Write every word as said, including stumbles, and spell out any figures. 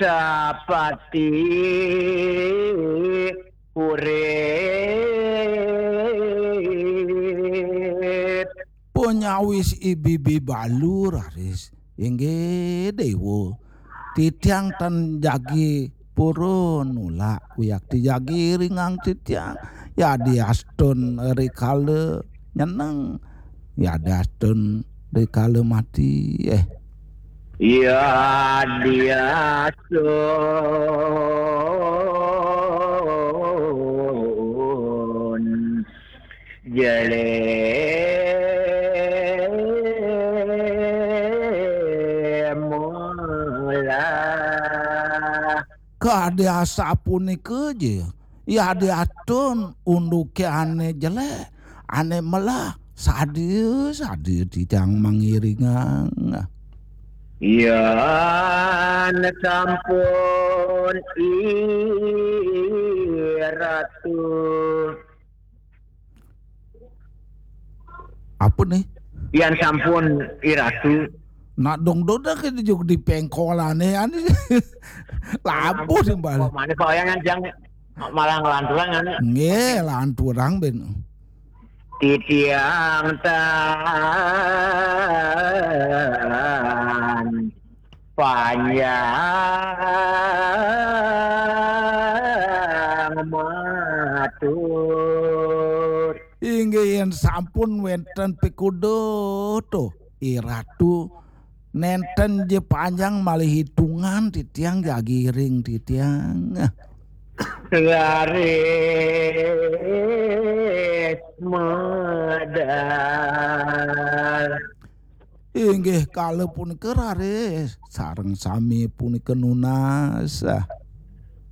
Sapati urip. Panyawis ibibi balu raris, inggih Déwa. Titiang tan jagi purun nulak wiakti jagi iringang titiang. Yadiastun rikala nyeneng, yadiastun rikala mati. Eh. Yadiastun jelé melah. Kadi asapunika ja, yadiastun unduké ané jelék, ané melah, sadia-sadia titiang mangiringang. Yan sampun I Ratu. Apa nih? Yan sampun I Ratu. Nak dong doda ke juk di pengkolané, anu. Labuh timbal. Kok mana kok yang jang malah ngelanturang, anu? Nggih, lanturang ben. Titiang tan panjang matur. Inggih, yén sampun wénten pikuduh to, I Ratu, nénten ja panjang malih hitungan titiang jagi iring titiang. Raris medal. Inggih kala punika raris sareng sami punika nunas.